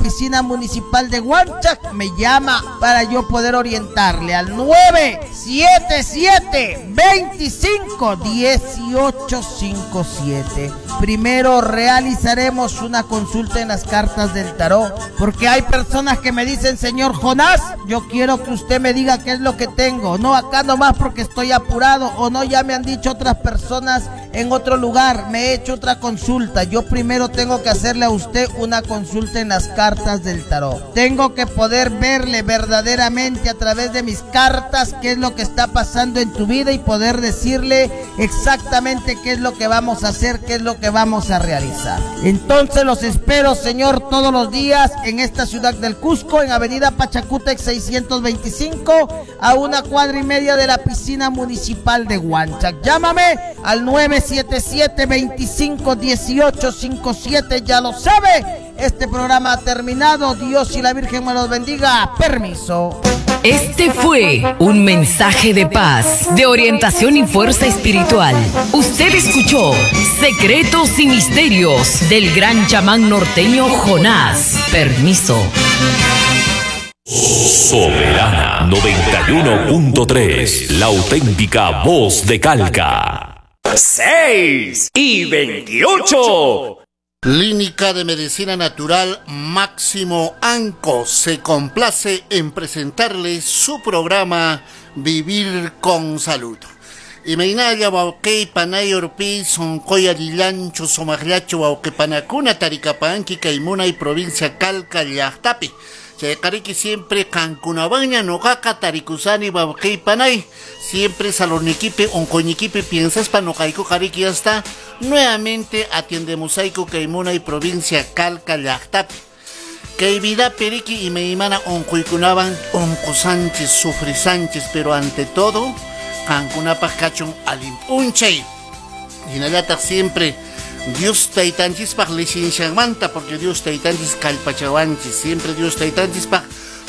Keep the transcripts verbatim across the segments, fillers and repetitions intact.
piscina municipal de Huanchac, me llama para yo poder orientarle al nueve siete siete, veinticinco, dieciocho, cinco siete. Primero realizaremos una consulta en las cartas del tarot, porque hay personas que me dicen: señor Jonás, yo quiero que usted me diga qué es lo que tengo. No, acá nomás porque estoy apurado, o no, ya me han dicho otras personas en otro lugar, me he hecho otra consulta. Yo primero tengo que hacerle a usted una consulta en las cartas del tarot. Tengo que poder verle verdaderamente a través de mis cartas qué es lo que está pasando en tu vida y poder decirle exactamente qué es lo que vamos a hacer, qué es lo que vamos a realizar. Entonces los espero, señor, todos los días en esta ciudad del Cusco, en Avenida Pachacútec seiscientos veinticinco, a una cuadra y media de la piscina municipal de Huanchac. Llámame al nueve siete siete, veinticinco, dieciocho, cinco siete, ya lo sabe. Este programa ha terminado. Dios y la Virgen me los bendiga. Permiso. Este fue un mensaje de paz, de orientación y fuerza espiritual. Usted escuchó Secretos y Misterios del gran chamán norteño Jonás. Permiso. Soberana noventa y uno punto tres, la auténtica voz de Calca. seis y veintiocho. Clínica de Medicina Natural Máximo Anco se complace en presentarles su programa Vivir con Salud. Imaynalla wawqi panay urpi sonqoya llanchu sumaqllachu wawqipanakuna tarikapanki kay munay provincia Calca llaqtapi. Chayqariki siempre qankunawanña nuqaqa tarikusani wawqi panay. Siempre salonikipi onqoynikipi piensaspa nuqaykuqa riki hasta nuevamente atiendemosayku kay munay provincia Calca llaqtapi. Kay vidapi riki imaymana onqoykunawan onqusanchis sufrisanchis, pero ante todo qankunapaq kachun allin p'unchay. Hinallataq siempre Dios taytanchispaq licenciamanta, porque Dios taytanchis kallpachawanchis, siempre Dios taytanchispaq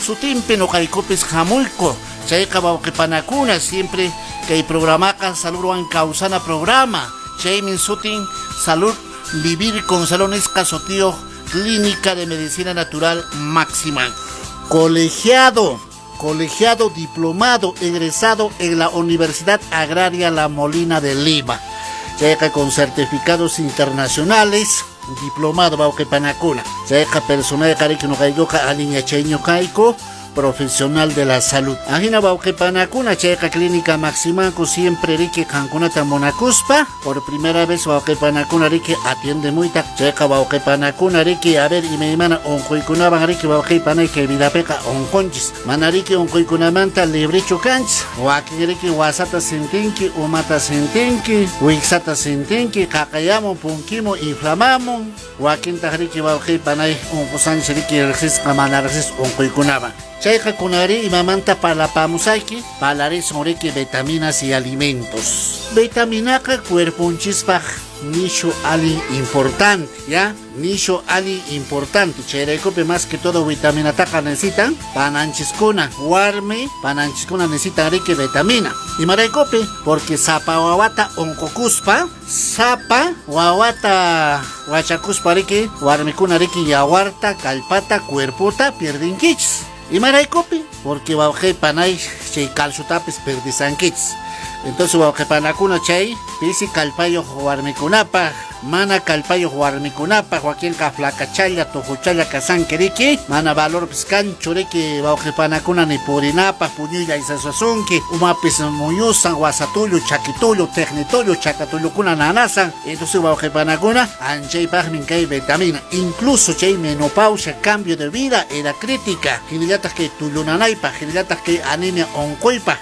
sutinpi nuqaykupis hamuyku. Chayqa wawqipanakuna siempre kay programaqa Saludwan Kawsana programa. Chaymin sutin Salud Vivir con Salud nisqa sutiyuq Clínica de Medicina Natural Máxima. Colegiado, colegiado diplomado, egresado en la Universidad Agraria La Molina de Lima. Chayqa con certificados internacionales, diplomado wawqipanakuna. Chayqa personal qariki nuqaykuqa allin yachayñu kayku, profesional de la salud. Ajina wawqipanakuna chayqa Clínica Maximanco siempre riki qankunata munakuspa. Por primera vez wawqipanakuna riki atiende muyta. Chayqa wawqipanakuna riki a ver imaymana unquykunawan riki wawqipanay kay vidapiqa unqunchis. Mana riki unquykunamanta librichu kanchis. Wakin riki wasata sintinki, umata sintinki, wiksata sintinki, qaqayamun, punkimun, inflamamun. Wakintaq riki wawqipanay unqusanchis riki riqsisqa mana riqsisqa unquykunawan. Chayqa kunari imamanta parlapamusayki, parlarisun riki vitaminas y alimentos. Vitaminaqa cuerpunchispaq nishu allin importante, ¿ya? Nishu allin importante. Chayraykupi más que todo vitaminataqa necesitan pananchiskuna, warmi pananchiskuna necesitan riki vitamina. Imaraykupi, porque sapa wawata unqukuspa, sapa wawata wachakuspa riki, warmikuna riki yawarta, kallpata, cuerpota pierdinkichis. Imaraykupi, porque wawqipanay chay calciotapis perdisankichis. Entonces wawqipanakuna chay pisi kallpayuq warmikunapaq, mana kallpayuq warmikunapaq, wakinqa flacachalla, tujuchalla kasanki riki, mana valorpis kanchu riki wawqipanakuna ni purinapaq, puñuylla isasuasunki, umapis muyusan, wasatullu, chakitullu, tecnitullu, chakatullukuna nanasan. Entonces wawqipanakuna anchaypaqmin kay vitamina, incluso chay menopausia, cambio de vida, edad crítica, hinallataq kay tullunanaypaq, hinallataq kay anemia unquypaq.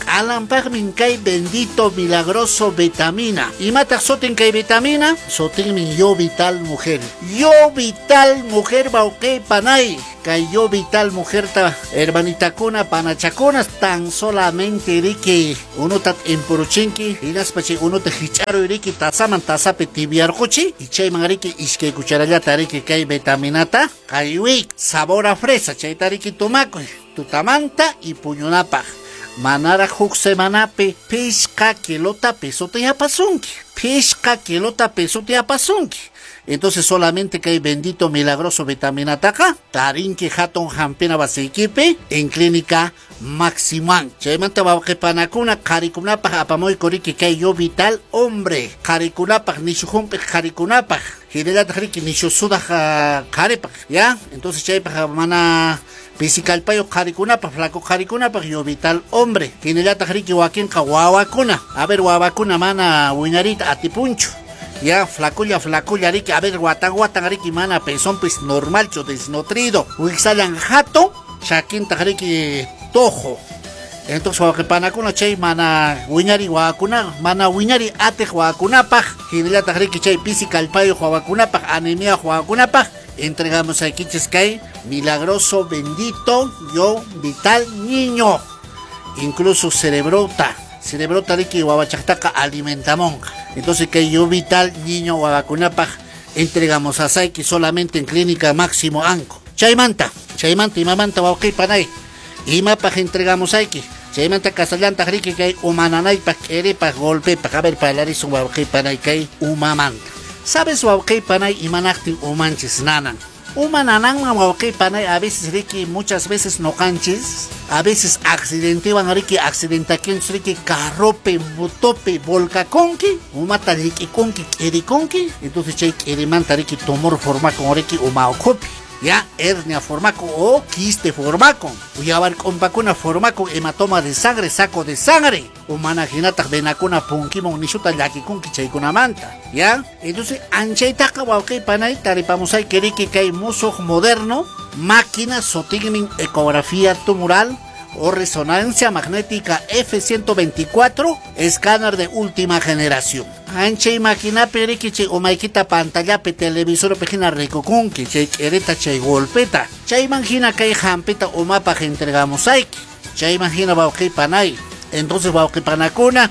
Alampaqmin kay bendito milagroso vitamina. Imataq sutin kay vitamina? Sutinmin yo vital mujer. Yo vital mujer wawqipanay. Kay yo vital mujer ta hermanitakuna panachakuna tan solamente riki unuta impuruchinki hinaspa chay unuta hich'aruy riki tasaman tasapi tibiarquchi y chayman riki iskay cucharallata riki kay vitaminata kaywi sabor a fresa chayta riki tumakuy tutamanta y puñunapaq. Manaraq huk semanapi pishqa kilota pesota yapasunki. Pishqa kilota pesota yapasunki. Entonces solamente que hay bendito milagroso vitamina taca, tarinki hatun hampina wasikipi en clínica Maximan. Chaymanta wawqipanakuna qharikunapaq apamuy kuriki kay yo vital hombre. Qharikunapaq nishu humpiq qharikunapaq. Hinallataq riki nishu sudaq qharipaq, ya? Entonces chaypaq mana pisikalpayo qharikunapaq, flaco qharikunapaq yo vital hombre. Hinallataq riki wakinqa wawakuna. A ver wawakuna mana wiñarita atipunchu. Ya, flaculla, flaculla, riki, a ver, guatan, guatan, riki, mana, pezón, pues, normalcho, desnutrido. Wixalan jato, chaquinta, riki, tojo. Entonces, wawqipanakuna chay mana wiñari wawakuna, mana wiñari atiq wawakunapaq, hinallataq riki chay pisi kallpayuq wawakunapaq, anemia wawakunapaq, entregamos aquí kay milagroso bendito yo vital niño. Incluso cerebrota, cerebrota riki wawachaqtaqa alimentamonqa. Entonces que yo vital niño wawakunapaq entregamos a Saiki solamente en clínica Máximo Anco. Chaymanta, chaymanta imamanta wawqipanay. Imapaq entregamos ayki. Chaymanta kasallantaq riki kay umananaypaq k'iripaq golpepaq. A ver parlarisun wawqipanay kay umamanta. ¿Sabes wawqipanay imanaqtin umanchis nanan? Uma nananman wawqipanay a veces riki muchas veces noqanchis, a veces accidentewan riki accidentakinchis riki carrope, motope, volcaconki, umata rikikunki k'irikunki, entonces chay k'irimanta riki tumor formakun riki uma ukhupi. Ya, hernia formaco o quiste formaco. Uyawar k'umpakuna formaco hematoma de sangre, saco de sangre. Umana hinataq venakuna punkimon nishuta llakikunki chaykunamanta. Ya, entonces anchaytaqa wawqipanay taripamusay kiriki kay musuq moderno, máquina sotigmin ecografía tumoral o resonancia magnética F ciento veinticuatro, escáner de última generación. Anchay maquinapi riki chay umaykita pantallapi televisor hina rikukunki chay k'irita chay golpeta. Chayman hina kay hampita umapaq entregamos ayki. Chayman hina wawqipanay. Entonces wawqipanakuna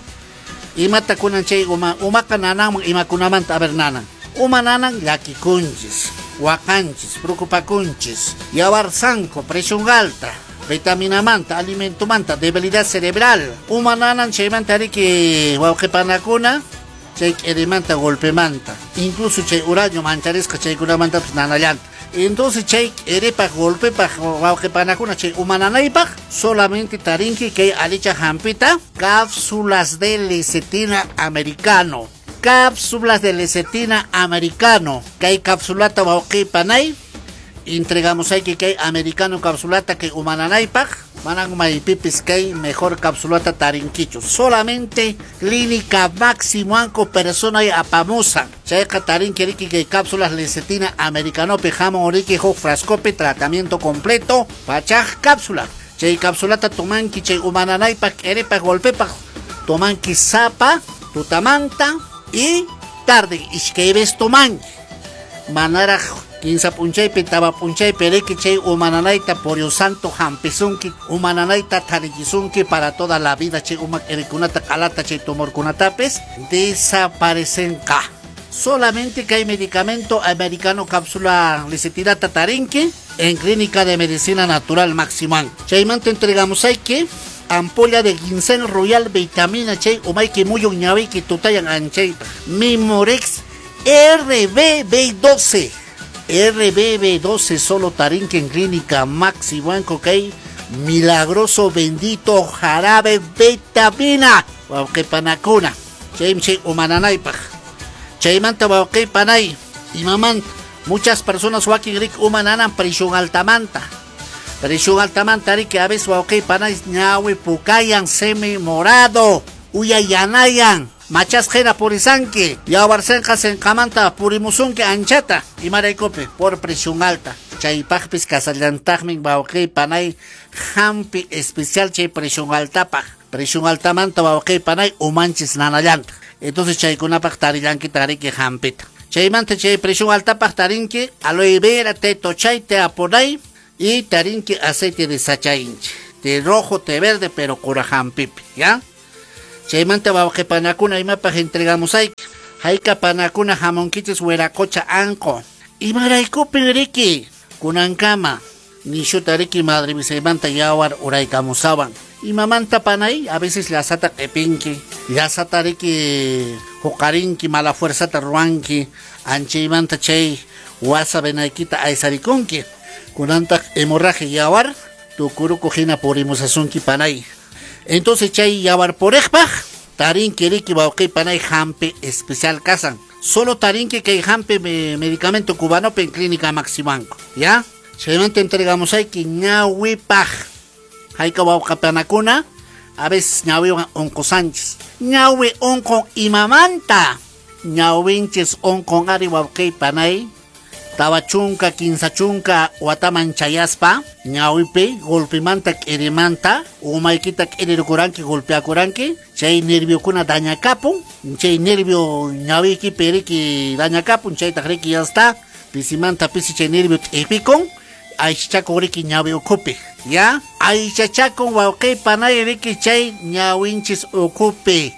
imata kunan chay uma umaqa nananman imakunamanta a ver nanan. Uma nanan llakikunchis, waqanchis, preocupakunchis, yawar sanko, presión alta, vitamina manta, alimento manta, debilidad cerebral. Uma nanan chaymanta riki wawqipanakuna chay k'irimanta golpemanta, incluso chay uraño mancharisqa chaykunamantapis nanallanta. Entonces chay k'iripaq golpepaq wawqipanakuna chay umananaypaq solamente tarinki kay alicha hampita cápsulas de lecitina americano. Cápsulas de lecitina americano. Kay cápsulata wawqipanay entregamos ahí que kay americano capsulata que umananaypaq manan maypipis kay mejor capsulata tarinquicho. Solamente clínica Máximo Anco persona y apamusa. Chayqa tarinqui riki kay cápsulas lecitina americano jamón oriki huk frascope tratamiento completo pachaj cápsula. Chay capsulata tomanki chay umananaypaq k'iripaq golpepaq tomanki sapa tutamanta y tarde ishkayves tomanki manaraj kinsa p'unchaypi tawa p'unchaypi riki chay umananayta por Dios santo hampisunki umananayta tarichisunki para toda la vida chay uma k'irikunata q'alata chay tumorkunatapis desaparecenqa. Solamente que hay medicamento americano cápsula lecitinata tarinki en clínica de medicina natural Maximan. Chaymanta entregamos hay que ampolla de ginseng royal vitamina chay umayki muyun ñawiyki tutayan anchayta Mimorex R B B doce. R B B doce solo tarinque en clínica Maxi Banco kay milagroso bendito jarabe vitamina wawqipanakuna chaymi chay umananaypaq chaymanta wawqipanay imamanta muchas personas wakin rik umananan presión altamanta presión altamanta riki a veces wawqipanay ñawi pukayan semi morado uyayanayan machas jena purisanki yawarsenqa senqamanta purimusunki anchata imaraykupi por presión alta chaypaqpis kasallantaqmi wawqipanay hampi especial chay presión altapaq presión altamanta wawqipanay umanchis nanallanta. Entonces chaykunapaq tarillanki tariki hampita chaymanta chay presión altapaq tarinki aloe vera te tochay te aponay y tarinki aceite de sachainchi te rojo te verde pero cura hampipi ya. Chaymanta wawqipanakuna imapaq entregamos ayki hayka panakuna hamunkichis wiracocha anqo imaraykupin riki kunankama nishuta riki madre misaymanta yawar uraykamusawan imamanta panay a veces llasata q'ipinki llasata riki huqarinki mala fuerzata ruwanki Anchaymanta chay wasa venaykita aysarikunki. Kunantaq hemorragia yawar tukuruku hina purimusasunki panay. Entonces chay yawar puriqpaq tarinki riki wawqi panay hampi especial kasan. Solo tarinki kay hampi medicamento cubano en Clínica Maximanco. ¿Ya? Chaymanta entregamos ayki ñawipaq. Hayka wawqapanakuna a veces ñawiwan unqusanchis. Ñawi unqun imamanta. Ñawinchis unqun ari wawqi panay. Tawa chunka, kinsa chunka, wataman chayaspa, ñawipi, golpimanta k'irimanta, umaykita k'irirukuranki, golpeakuranki, chay nerviokuna dañakapun, chay nervio ñawiykipi riki dañakapun, chaytaq riki ya está, pisimanta pisi chay nervio t'ipikun, aychachakun riki ñawi ukhupi, ya? Aychachakun wawqi panay riki chay ñawinchis ukhupi.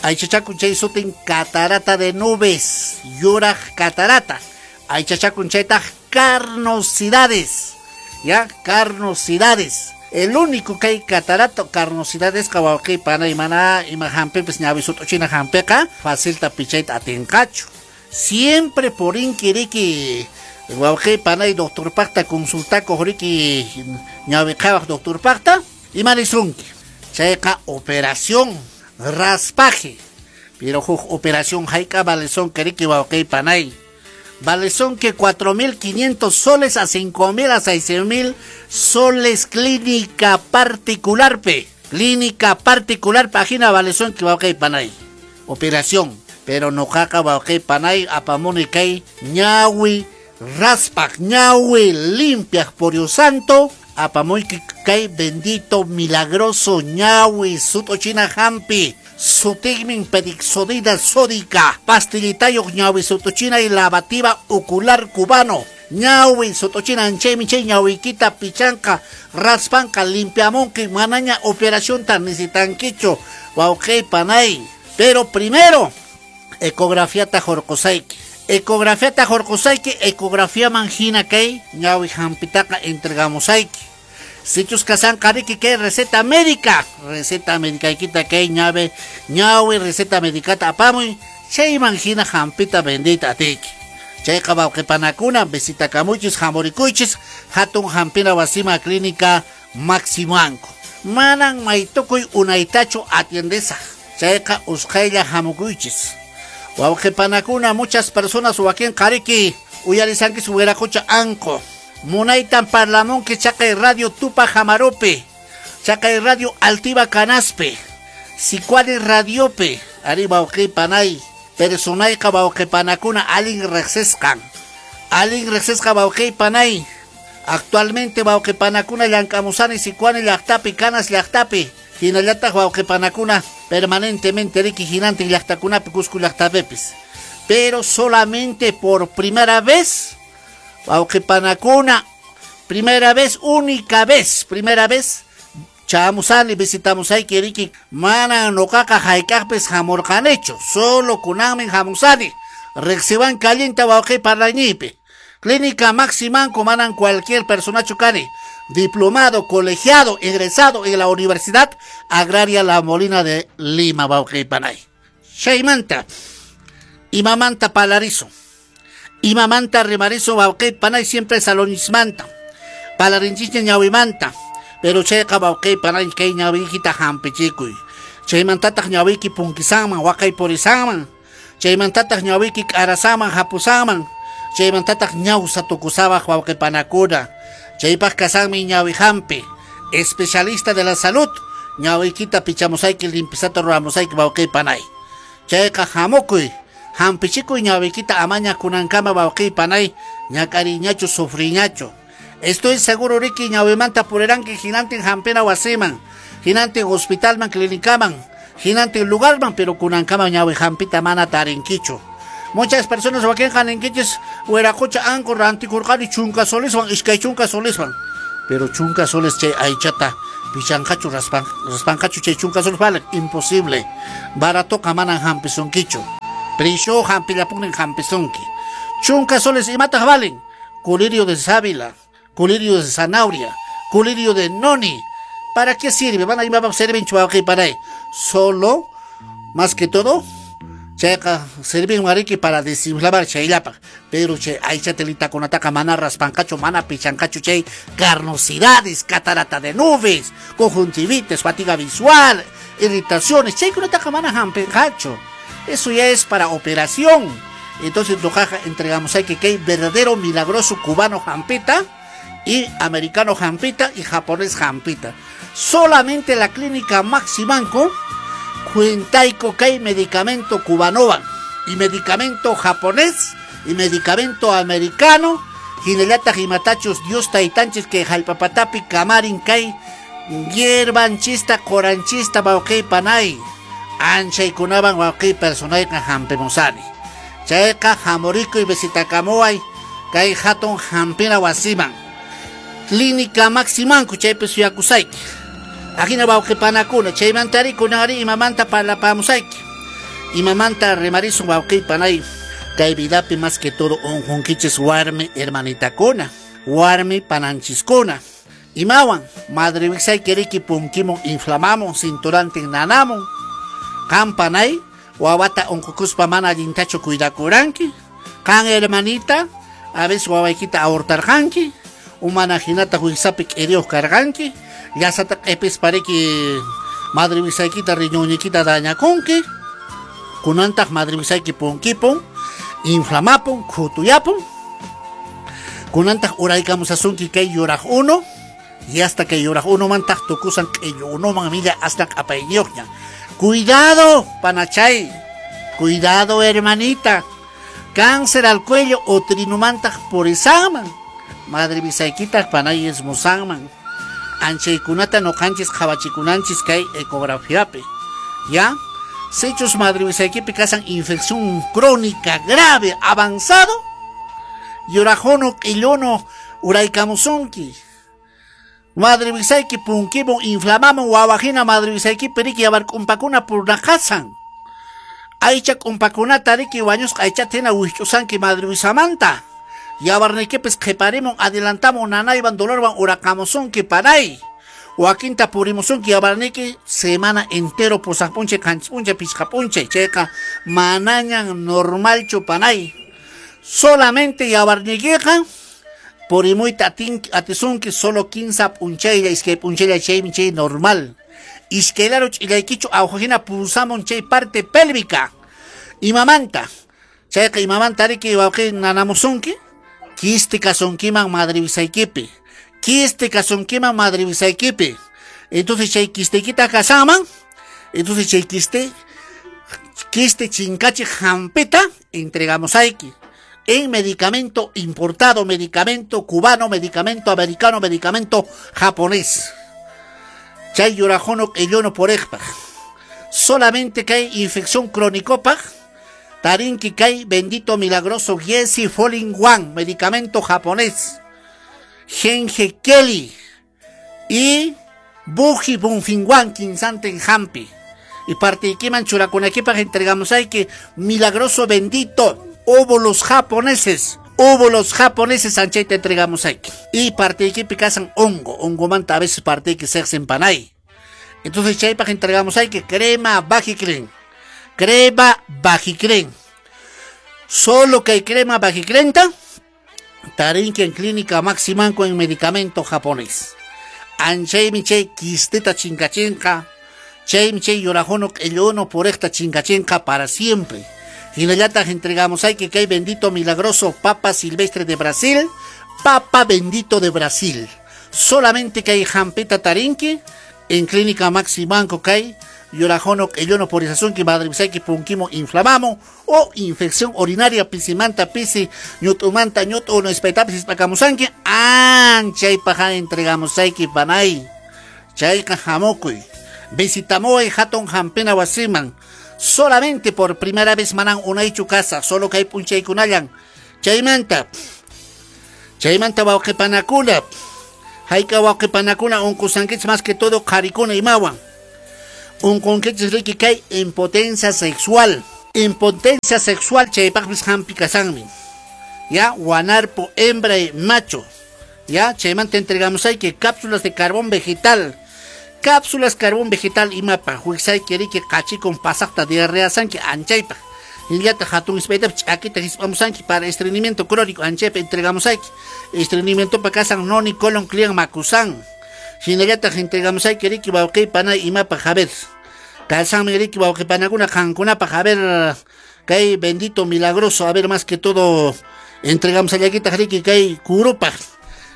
Aychachakun chay sutin catarata de nubes, yuraq catarata. Aychachakun chaytaq carnosidades, ya, carnosidades. El único que hay catarata, carnosidades, wawqi panay mana ima hampipis ñawi sut'uchina hampiqa, facilta pichayta atinqachu. Siempre por inkiriki, wawqi panay doctor paqta consultakuq riki ñawi qhawaq doctor paqta, ima nisunki. Chayqa operación, raspaje. Pero huk operación hayk'a valesunki riki wawqi panay. Vale son que cuatro mil quinientos soles a cinco mil a seis mil soles clínica particular pe. Clínica particular página vale son que va ok panay. Operación. Pero no jaca va ok panay apamoni kay ñawi raspak ñawi limpias por Dios santo. Apamoy kay bendito milagroso ñawi sutochina hampi. Sutigmin pedixodida sódica, pastillitayo ñawi sutochina y lavativa ocular cubano. Ñawi sutochina anchemi che ñawiquita pichanca, raspanca, limpiamonque, manaña operación tan necesitanquicho, wauqi panay. Pero primero, ecografía tajorcosaiki. Ecografía tajorcosaiki, ecografía mangina kay, ñawi hampitaca entregamosaiki. Sichus kasan kariki que receta médica, receta médica ikita que ñave, ñawi receta médica apamuy, chay mangina jampita bendita tiki. Chay wawqipanakuna visita kamuchis jamurikuychis hatun hampina wasima clínica Maximanco. Manan maytukuy unaytachu atiendesaq. Chayqa usqhaylla hamukuychis. Wawqipanakuna muchas personas wakin kariki uyarisankis wiraqucha anqo. Munaytan parlamunki chaqay radio Tupac Amarupe, chaqay radio Altiva Canaspe, Sicuani radiope, ari wawqipanay, personayqa wawqipanakuna alin riqsisqan, alin riqsisqa wawqipanay. Actualmente wawqipanakuna llank'amusani Sicuani llaqtapi, Canas llaqtapi, hinallataq wawqipanakuna permanentemente riki hinantin llaqtakunapi Cusco llaqtapipis. Pero solamente por primera vez wawqipanakuna, primera vez, única vez, primera vez, chamusani, visitamos ayki riki, mana noqaqa hayk'aqpis hamurqanichu, solo kunanmin hamusani, riqsiwan caliente wawqipanaynipi. Clínica Maximanco, manan cualquier personachu kani, diplomado, colegiado, egresado en la Universidad Agraria La Molina de Lima, wawqipanay. Chaymanta, imamanta palarizo. Imamanta rimarizo wawqi panay siempre salonismanta. Palarinchicha ñawimanta. Pero chayqa wawqi panay kay ñawikita hampichikuy. Chaymantataq ñawiki punkisanman, waqay purisanman. Chaymantataq ñawiki k'arasanman, hapusanman. Chaymantataq ñawsa tukusabaq wawqi panakuna. Chaypaq kasanmi ñawi hampi. Especialista de la salud. Ñawikita pichamusayki, limpisata ruramusayki wawqi panay. Chayqa hamukuy. Hampichikuy ñawikita amaña kunankama wawqi panay ñak'ariñachu sufriñachu. Estoy seguro riki ñawimanta puriranki hinantin hampina wasiman, hinantin hospitalman, clínicaman, hinantin lugarman, pero kunankama ñawi hampita mana tarinkichu. Muchas personas wakin haninkichis wiraqucha anqu rantikurqani chunka soliswan, iskay chunka soliswan. Pero chunka soles chay aychata pichanqachu raspan, raspanqachu chay chunka soles vale, imposible. Baratoqa manan hampisunkichu. Prisho hampillapunin hampisunki. Chunka soles imataq valen. Colirio de sábila, colirio de zanahoria, colirio de noni. ¿Para qué sirve? Van a ir a servir para ahí. Solo, más que todo, Chayqa sirvin wariki para desinflamar chayllapaq, pero chay aycha telitakunataqa mana raspanqachu, mana pichanqachu chay carnosidades, catarata de nubes, conjuntivitis, fatiga visual, irritaciones, chaykunataqa mana hampinqachu. Eso ya es para operación. Entonces noqaqa entregamos hay que kay verdadero milagroso cubano hampita y americano hampita y japonés hampita. Solamente la clínica Maximanco cuentaico kay medicamento cubanovan y medicamento japonés y medicamento americano hinallataq imatachus Dios taytanchis kay hallpapatapi kamarin kay hierbanchista qoranchista wawqi panay anchaykunawan wawqi personayqa hampimusani chayqa hamurikuy visitakamuway kay hatun hampina wasiman Clínica Maximanco chaypi suyakusayki. Ajina wawqipanakuna chaymantari kunari imamanta parlapamusayki imamanta rimarisun wawqipanay kay vidapi más que todo unqunkichis warmi hermanitakuna warmi pananchiskuna imawan madre wiksayki riki punkimun inflamamun cinturantin nanamun qan panay wawata unqukuspa mana allintachu cuidakuranki qan hermanita a veces wawaykita abortarqanki umana hinata wiksapi k'iriyuq karqanki llasata q'ipispa riki madre wisaykita riñuñiykita dañakunki kunantaq madre wisayki punkipun inflamapun khutuyapun kunantaq uraykamusasunki kay yuraq uno y hasta kay yuraq unomantaq tukusan q'illu unoman milla hasta q'apayniyuqña. Cuidado panachay, cuidado hermanita, cáncer al cuello utrinumantaq purisanman madre wisaykitaq panay ismusanman anchaykunata noqanchis qhawachikunanchis kay ecografiapi ya sichus madre wisaykipi kasan infección crónica grave avanzado yurajono q'illuno uraykamusunki madre wisayki punkimun inflamamun wawajina madre wisaykipi riki yawark'umpakuna purnaqasan aycha k'umpakunata riki wañusqa aychata hina wikch'usanki madre wisamanta yawarniykipis qhiparimun adelantamun nanaywan dolorwan uraqamusunki panay wakinta purimusunki yawarniyki semana entero pusaq p'unchay qanchis p'unchay pichqa p'unchay chayqa manañan normalchu panay solamente yawarniykiqa purimuyta atisunki solo quince p'unchaylla iskay p'unchaylla chaymi chay normal iskaylaru ch'illaykichu awjahina pulsamun chay parte pélvica imamanta chayqa imamanta riki wawqi nanamusunki quiste kasunkiman madre wisaykipi quiste kasunkiman madre wisaykipi entonces chay quisteykita kasanman entonces chay quiste quiste chinkachi hampita entregamos ayki en medicamento importado, medicamento cubano, medicamento americano, medicamento japonés. Chay yurajono q'illuno purejpaq solamente que hay infección crónicopaq tarinki kay bendito milagroso Giesi Folin One, medicamento japonés, Genge Kelly y Buji Bunfinwan Kinsanten Hampi. Y partiykiman churakunakipaq entregamos hay que milagroso bendito óvulos japoneses, óvulos japoneses anchayta entregamos hay. Y partiykipi kasan hongo, hongomanta a veces partiyki sexen panay. Entonces chaypaq entregamos hay que crema Vagiclen. Crema Vagiclen. Solo que hay crema Vagiclenta, tarinki en clínica Maximanco en medicamento japonés. Anchaymi chay quisteta chinkachinqa, chaymi chay yurajono q'illuno purejta chinkachinqa para siempre. Hinallataq entregamos hay que kay bendito milagroso Papa Silvestre de Brasil, Papa bendito de Brasil. Solamente que hay jampita tarinki en clínica Maximanco kay yurajono q'illuno purizasunki madre wisayki punkimo inflamamo o infección urinaria pisimanta pisi ñut'umanta ñut'u no espaytapis ispakamusanki anchaypaq entregamos ayki panay chayqa hamukuy visitamuway hatun hampina wasiman solamente por primera vez manan unaychu casa solo kay p'unchaykunallan chaymanta chaymanta wawqipanakuna hayka wawqipanakuna unqusankichis más que todo qharikuna imawan unqunkichis riki kay impotencia sexual impotencia sexual chaypaqpis hampi kasanmi ya wanarpo hembra y macho ya chaymanta entregamos hay que cápsulas de carbón vegetal cápsulas carbón vegetal imapaq wiksayki riki qachikun pasaqta diarrea sanki anchaypaq Hinallataq hatun hisp'aytapas ch'akita hisp'amusanki para estreñimiento crónico anchaypi entregamos ayki. Estreñimientopa kasan noni colon clian makusan. Hinallataq entregamos ayki riki wawqi panay imapaq a ver. Kasanmi riki wawqi panakuna qankunapaq a ver kay bendito milagroso a ver más que todo entregamos allakitaq riki kay kurupaq.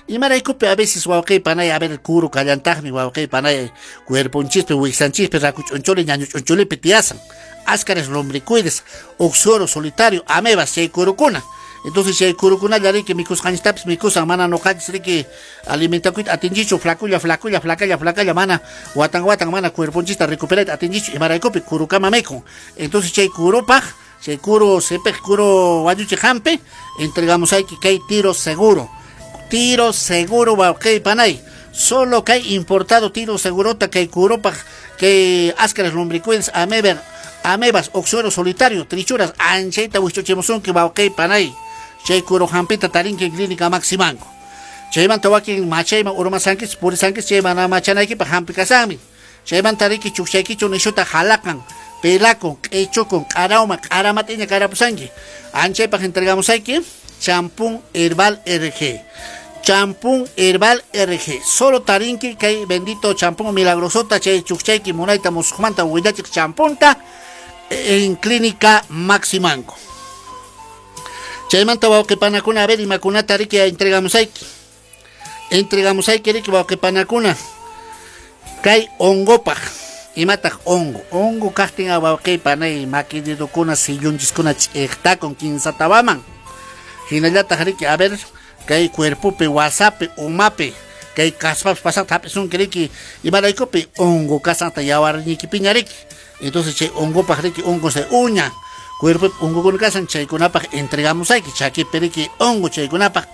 Imaraykupi a veces wawqi panay a ver kuru kallantaqmi wawqi panay cuerponchispi wiksanchispi rakuch'unchuli ñañuch'unchulipi tiyasan. Áscaras lombricoides, oxoro solitario, amebas, chay kurukuna. Entonces chay kurukuna riki mikusqanchistapis mikusan mana nuqanchis riki alimentakuyta atinchichu flaculla flaculla flacalla flacalla mana watan watan mana cuerponchista recuperayta atinchichu imaraykupi kurukama mikun. Entonces chay kurupaq chay kuru sepej kuru wañuchi hampi entregamos ayki kay tiro seguro. Tiro seguro wawqi panay. Solo kay importado tiro segurota kay kurupaq kay áscaras lombricoides ameber amebas, oxuero solitario, trichuras, anchayta wichuchimusunki wawqi panay. Chay kuru hampita tarinki clínica Maximanco. Chaymanta wakin machayman urmasankis purisankis chay mana machanaykipaq hampi kasanmi. Chaymanta riki chukchaykichu nishuta halaqan, pelakun, q'ichukun, q'arawman, q'aramatiña karapusanki. Anchaypaq entregamusayki champún herbal R G. Champún herbal R G. Solo tarinki kay bendito champún milagrosota chay chukchayki munayta musuqmanta willachiq champunta en clínica Maximanco. Chaymanta wawqi panakuna a ver imakunata riki entregamos ayki. Entregamos ayki riki wawqi panakuna. Kay hongopaq. Imataq hongo. Hongo kaqtin wawqi panay makididukuna sillunchiskuna ch'iqtakun kinsatawaman. Hinallataq riki a ver kay cuerpopi wasapi umapi kay kaspapas pasaqta hap'isunki riki imaraykupi hongo kasanta yawarniykipiña riki. Entonces chay hongopaq riki hongo se uña. Cuerpo hongokuna kasan chaykunapaq entregamos ayki chakipi riki hongo chaykunapaq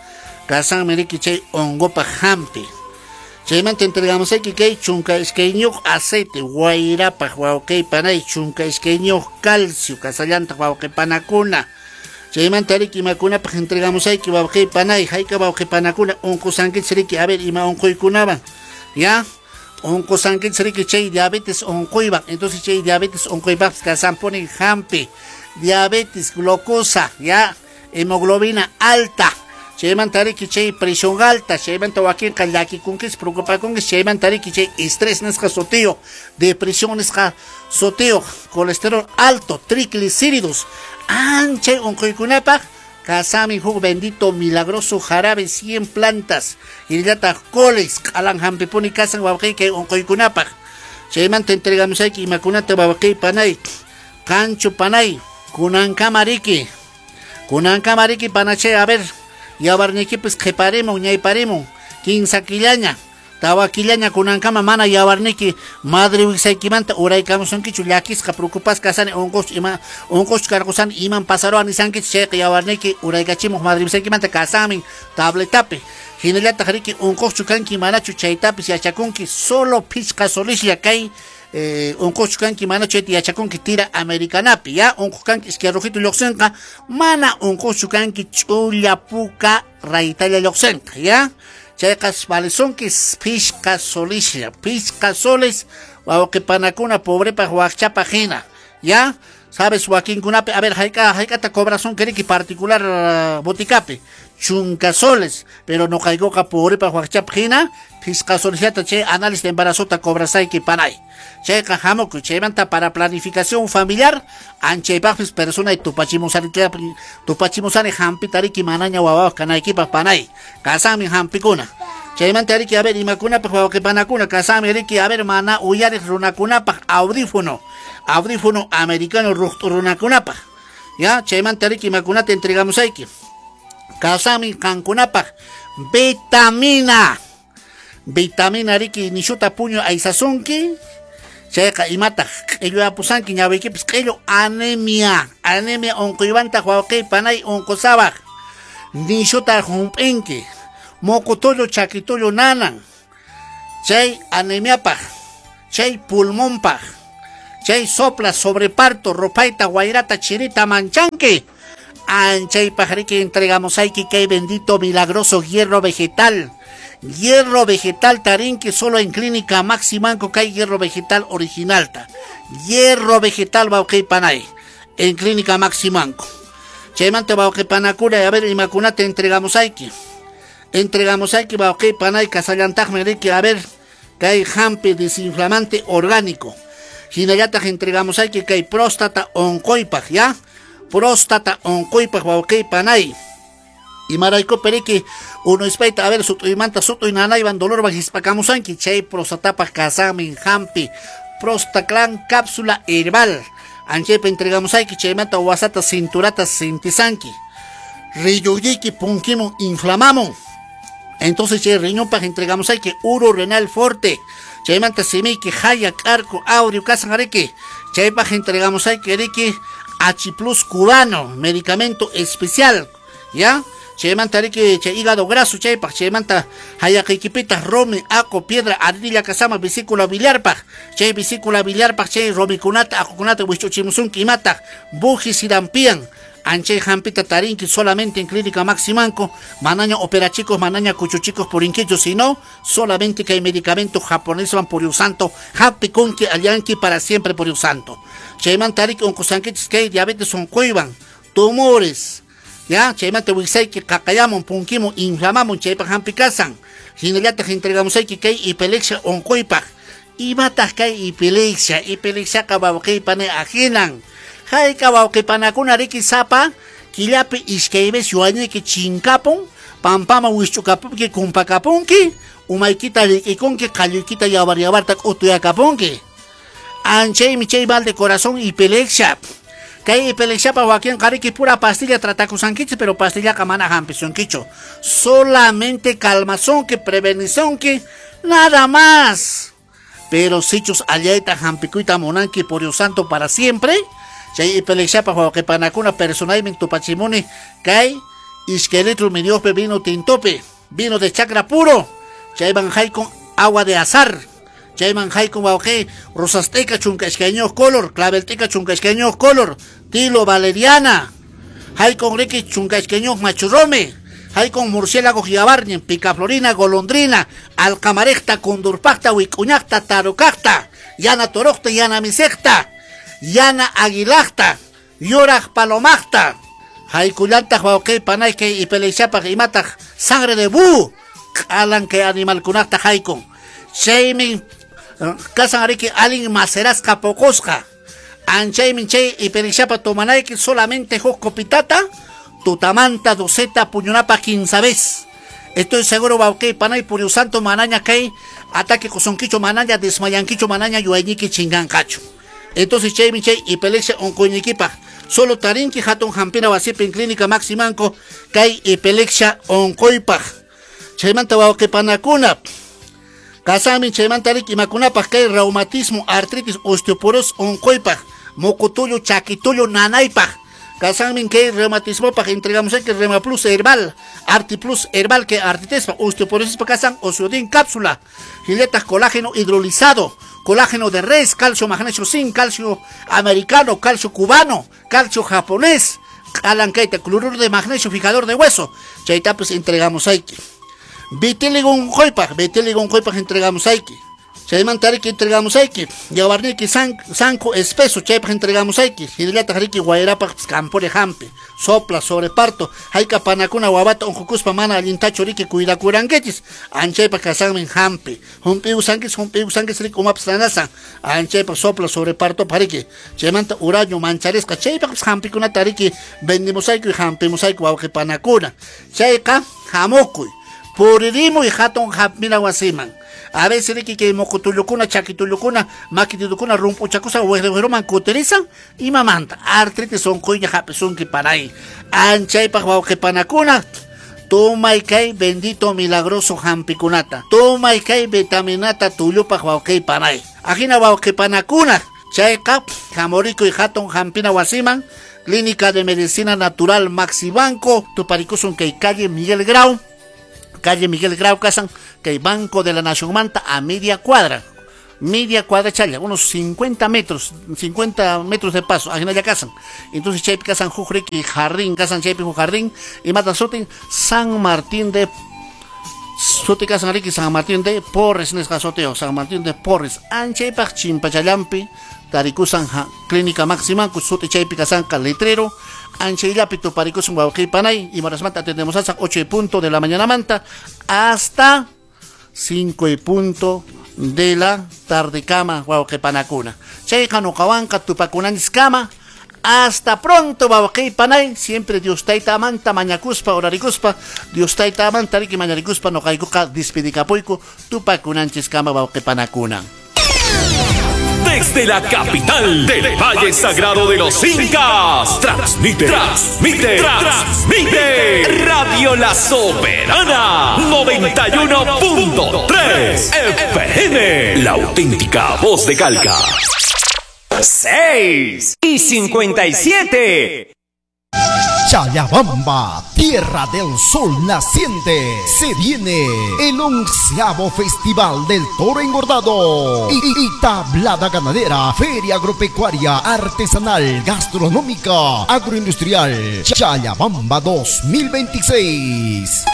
kasanmi riki chay hongopaq hampi. Chaymanta entregamos ayki kay chunka iskayniyuq aceite wayrapaq wawqi panay chunka iskayniyuq calcio kasallantaq wawqi panakuna. Chaymanta riki imakunapaq entregamos ayki wawqi panay hayka wawqi panakuna unqusankichis riki a ver ima unquykunawan ya unqusankichis riki chay diabetes unquywan. Entonces chay diabetes unquypaqpis kasanpuni hampi. Diabetes, glucosa, ya, hemoglobina alta. Chaymanta riki chay presión alta, chaymanta wakinqa llakikunkis, preocupakunkis, chaymanta riki chay estrés nisqa sutiyuq, depresión nisqa sutiyuq, colesterol alto, triglicéridos. Anchay unquykunapaq kasami huk bendito milagroso jarabe cien plantas. Hinallataq coles, q'alan hampipuni kasan wawqi kay unquykunapaq. Chaymanta entregamos ayki imakunata wawqi panay, qanchu panay. Kunankama riki, kunankama riki panachay a ver, yawarniykipis qhiparimun, ñayparimun, kinsa killaña, tawa killaña kunankama mana yawarniyki madre wiksaykimanta uraykamusunkichu llakisqa preocupasqa kasani unquschu ima unquschu karqusani iman pasaruwan nisankichu chayqa yawarniyki uraykachimuq madre wiksaykimanta kasanmin tabletapi. Hinallataq riki unquschu kanki manachu chaytapis yachakunki solo phichqa solislla kay Eh, unquchu kanki mana chayta yachakunki tira americanapi ya unquq kanki iskay rujito lluqsinqa mana unquchu kanki ch'ulla puka raytalla lluqsinqa ya chayqa valesunki phishqa solislla phishqa soles wawqi panakuna pobrepaq waqchapaq hina ya sabes wakinkunapi a ver hayk'a hayk'ata cobrasunki riki particular uh, boticapi chunka soles pero nuqaykuqa pobrepaq waqchapaq hina phishqa solisllata chay análisis de embarazota cobrasayki panay. Chayqa hamukuy chaymanta para planificación familiar anchaypaqpis persona y tupachimusani tupachimusani hampita riki manaña wawawaq kanaykipaq panay kasanmi hampikuna. Chaymanta riki a ver imakunapaq wawqipanakuna kasanmi riki a ver mana uyariq runakunapaq audífono audífono americano ruqt'u runakunapaq ya chaymanta riki imakunata entregamos ayki kasanmi qankunapaq vitamina vitamina riki nishuta puñu aysasunki chayqa imataq q'illu apusanki ñawiykipis q'illu anemia anemia unquywantaq wawqi panay unqusawaq nishuta hump'inki moqotullu chakitullu nanan chay anemiapaq chay pulmonpaq chay sopla sobreparto rupayta wayrata chirita manchanki anchaypaq riki entregamos ayki kay bendito milagroso hierro vegetal. Hierro vegetal tarinki solo en clínica Maximanco kay hierro vegetal originalta. Hierro vegetal wawqi panay. En Clínica Maximanco. Chaymanta wawqipanakuna, a ver, imakunata entregamos ayki. Entregamos ayki wawqipanay kasallantaqmi riki, a ver, kay hampi desinflamante orgánico. Hinallataq entregamos ayki kay próstata onquypaq, ya? Próstata onquypaq wawqipanay. Imarayku periki uno ispaita, a ver, sut'uymanta sut'uy nanaywan dolorwan hispakamusanki, chay prostatapaq kasanmin hampi Prostaclan cápsula herbal. Anchaypa entregamos ayki chaymanta wasata cinturata sintisanki. Riyuyiki punkimun inflamamun. Entonces chay riñonpaq entregamos ayki uro renal forte. Chaymanta simiki haya k'arku aurio kasan ariki. Chaypaq entregamos ayki riki H plus cubano, medicamento especial, ¿ya? Chaymanta riki chay hígado graso chaypaq, chaymanta hayaqiykipitaq romi, aco, piedra, ardilla kasama vesícula biliarpaq, chay vesícula biliarpaq chay romikunata, aqukunata wich'uchimusunki imataq, buji sirampian. Anchay hampita tarinki solamente en Clínica Maximanco, manaña operachicos, manaña cuchuchicos purinquicho, sino solamente que hay medicamento japonés van por santo, hampi kunki allanki para siempre por santo. Chaymanta riki onqusankichis kay diabetes onquywan, tumores, ya, chaymanta wiksayki qaqayamun, punkimun, inflamamun, chaypaq hampi kasan. Hinallataq entregamos ayki kay epilepsia onquypaq. Imataq kay epilepsia, epilepsiaqa wawqiypani ajinan. Hayka wawqipanakuna riki sapa killapi iskay vez yuayniyki chinkapun, pampama wisch'ukapunki, kumpakapunki, umaykita rikikunki, qalluykita yawar yawarta k'utuyakapunki. Anchaymi chay mal de corazón epilepsia. Kay epilepsiapa wakinqa riki pura pastilla tratakusankichis, pero pastillaqa mana hampisunkichu. Solamente calmazonki, prevenizonki, nada más. Pero sichus allayta hampikuyta munanki por Dios santo para siempre, chay epilepsiapa wawqipanakuna personalmente tupachimuni kay iskay litro midiope vino tintope, vino de chacra puro, chayman haykun agua de azar, chayman haykun wawqi rosasteca chunka iskayñuq color, clavelteca chunka iskayñuq color, tilo valeriana, haykun riki chunka iskayñuq machurrome, haykun murciélago yabarñin, picaflorina, golondrina, alcamarejta, kundurpaqta, wik'uñaqta, tarukaqta, yana toroqta, yana misejta, yana aguilaqta, yuraq palomaqta, haykullantaq wawqipanay kay epilepsiapaq imataq sangre de búho, q'alan kay animalkunaqta haykun. Chaymi kasan riki alin macerasqa poqosqa. Anchaymi chay epilepsiapa tomanayki solamente huk copitata, tutamanta doceta puñunapa quince vez. Estoy seguro wawqipanay por santo manaña kay ataque kusunkichu manaña desmayankichu manaña yuayñiki chinganqachu. Entonces chaymi chay epilepsia onquynikipaq solo tarinki hatun hampina wasipi en Clínica Maximanco kay epilepsia onquypaq. Chaymanta wawqipanakuna kasami chaymanta riki imakunapaq kay reumatismo, artritis, osteoporosis onquypaq, muqutullu, chakitullu nanaypaq. Kasanmin kay reumatismopaq entregamos que Rema Plus herbal, Arti Plus herbal que artritispa, osteoporosis kasan, osteodin cápsula, giletas colágeno hidrolizado, colágeno de res, calcio magnesio zinc, calcio americano, calcio cubano, calcio japonés, alancaita, cloruro de magnesio, fijador de hueso. Chayta pues entregamos ayki. Vitiligo onquypaq, vitiligo onquypaq entregamos ayki. Chaymanta riki entregamos ayki. Yawarniki sanco espeso, chaypaq entregamos ayki. Hinallataq riki wayrapaq campore hampi, sopla, sobreparto, hayka panakuna wawata onqukuspa mana allintachu riki cuidakurankichis, anchaypaq kasanmin hampi. Humpiusankichis, humpiusankichis riki umapas nanasan, anchaypaq sopla, sobreparto pariki. Chaymanta uraño mancharisqa, chaypaq hampikunata riki vendimos ayki, hampimos ayki wawqipanakuna. Chayqa hamukuy, puririmuy hatun hampina wasiman. A veces riki que mocotullucuna, chaquitullucuna, maquitullucuna, rumpuchakusa, huejeruman kuterizan y mamanta. Artritis onquyña hapisunki paray. Anchaypaq wawqipanakuna, tumay kay bendito milagroso hampikunata. Tumay kay vitaminata tullupaq wawqipanay. Ajina wawqipanakuna, chayqa hamorikuy hatun hampina wasiman, Clínica de Medicina Natural Maxibanco, tuparikusun kay calle Miguel Grau. Calle Miguel Grau Casan, que Banco de la Nación Manta a media cuadra, media cuadra challa, unos cincuenta metros, cincuenta metros de paso, ajina casan. Entonces chaypi kasan huk riki jardín, kasan chaypi huk jardín y mata sutin San Martín de Suti kasan riki San Martín de Porres nisqa sutiyuq San Martín de Porres anchaypaq chimpachallampi tarikusan Clínica Máxima suti chaypi kasanqa letrero anchayllapi tuparikusun wawqipanay imarasmanta atendemos hasta ocho y punto de la mañana manta hasta cinco y punto de la tarde kama wawqipanakuna chayqa nuqawanqa tupakunanchis kama. Hasta pronto, wawqipanay. Siempre Dios tayta amanta mañakuspa orarikuspa Dios tayta amanta riki mañarikuspa noqaykuqa despedikapuyku tupakunanchis kama wawqipanakuna. Desde la capital del Valle Sagrado de los Incas, transmite, transmite, transmite Radio La Soberana noventa y uno punto tres F M, la auténtica voz de Calca. seis y cincuenta y siete. Challabamba, tierra del sol naciente, se viene el onceavo Festival del Toro Engordado y, y tablada ganadera, feria agropecuaria, artesanal, gastronómica, agroindustrial, Challabamba dos mil veintiséis.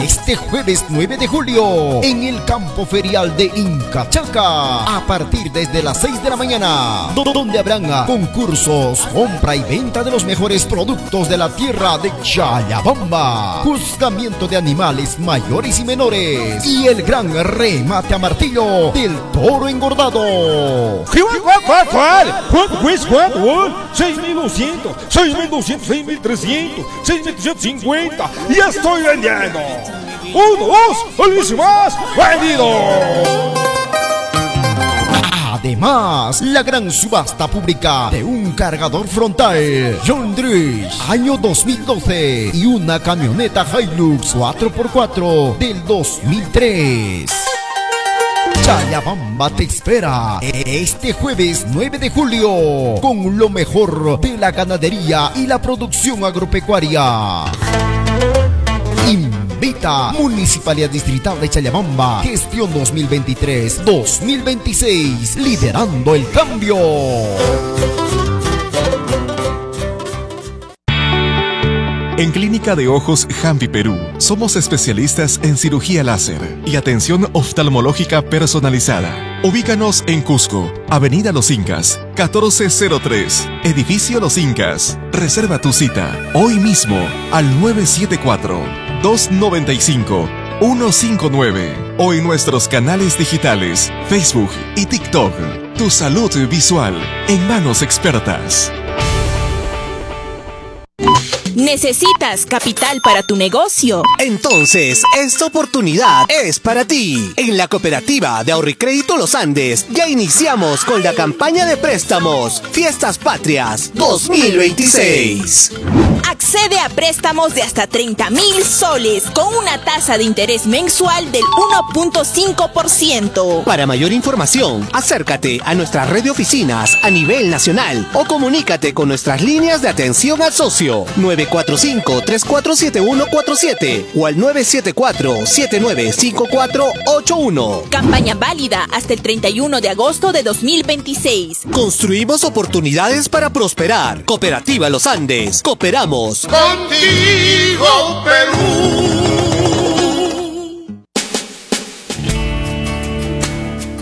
Este jueves nueve de julio, en el campo ferial de Incachaca, a partir desde las seis de la mañana, donde habrán concursos, compra y venta de los mejores productos de la tierra de Challabamba, juzgamiento de animales mayores y menores, y el gran remate a martillo del toro engordado. seis mil doscientos, seis mil doscientos, seis mil trescientos, seis mil trescientos cincuenta, ya estoy vendiendo. Uno, dos, y más, vendido. Además, la gran subasta pública de un cargador frontal John Deere año dos mil doce y una camioneta Hilux cuatro por cuatro del dos mil tres. Challabamba te espera este jueves nueve de julio con lo mejor de la ganadería y la producción agropecuaria. Invita Municipalidad Distrital de Challabamba, gestión dos mil veintitrés dos mil veintiséis, liderando el cambio. En Clínica de Ojos Jambi Perú, somos especialistas en cirugía láser y atención oftalmológica personalizada. Ubícanos en Cusco, Avenida Los Incas, catorce cero tres, Edificio Los Incas. Reserva tu cita hoy mismo al nueve siete cuatro, dos nueve cinco, uno cinco nueve o en nuestros canales digitales, Facebook y TikTok. Tu salud visual en manos expertas. ¿Necesitas capital para tu negocio? Entonces, esta oportunidad es para ti. En la Cooperativa de Ahorro y Crédito Los Andes, ya iniciamos con la campaña de préstamos Fiestas Patrias dos mil veintiséis. Accede a préstamos de hasta treinta mil soles con una tasa de interés mensual del uno punto cinco por ciento. Para mayor información, acércate a nuestra red de oficinas a nivel nacional o comunícate con nuestras líneas de atención al socio nueve cuatro cinco, tres cuatro siete uno cuatro siete o al nueve siete cuatro, siete nueve cinco cuatro ocho uno. Campaña válida hasta el treinta y uno de agosto de dos mil veintiséis. Construimos oportunidades para prosperar. Cooperativa Los Andes. Cooperamos. Contigo, Perú.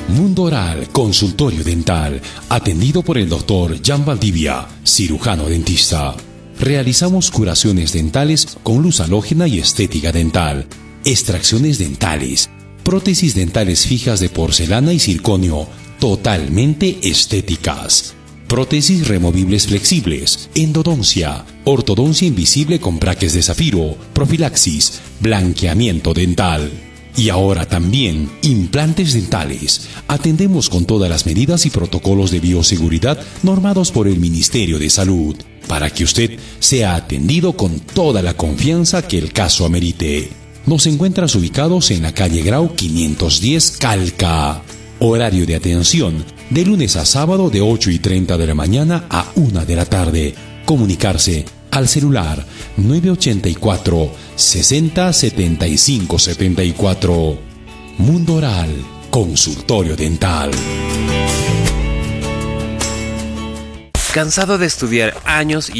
Mundo Oral, consultorio dental, atendido por el doctor Jan Valdivia, cirujano dentista. Realizamos curaciones dentales con luz halógena y estética dental, extracciones dentales, prótesis dentales fijas de porcelana y circonio, totalmente estéticas, prótesis removibles flexibles, endodoncia, ortodoncia invisible con braques de zafiro, profilaxis, blanqueamiento dental. Y ahora también implantes dentales. Atendemos con todas las medidas y protocolos de bioseguridad normados por el Ministerio de Salud, para que usted sea atendido con toda la confianza que el caso amerite. Nos encuentras ubicados en la calle Grau quinientos diez, Calca. Horario de atención de lunes a sábado de ocho y treinta de la mañana a una de la tarde. Comunicarse al celular nueve ochenta y cuatro, sesenta, setenta y cinco, setenta y cuatro. Mundo Oral, consultorio dental. ¿Cansado de estudiar años y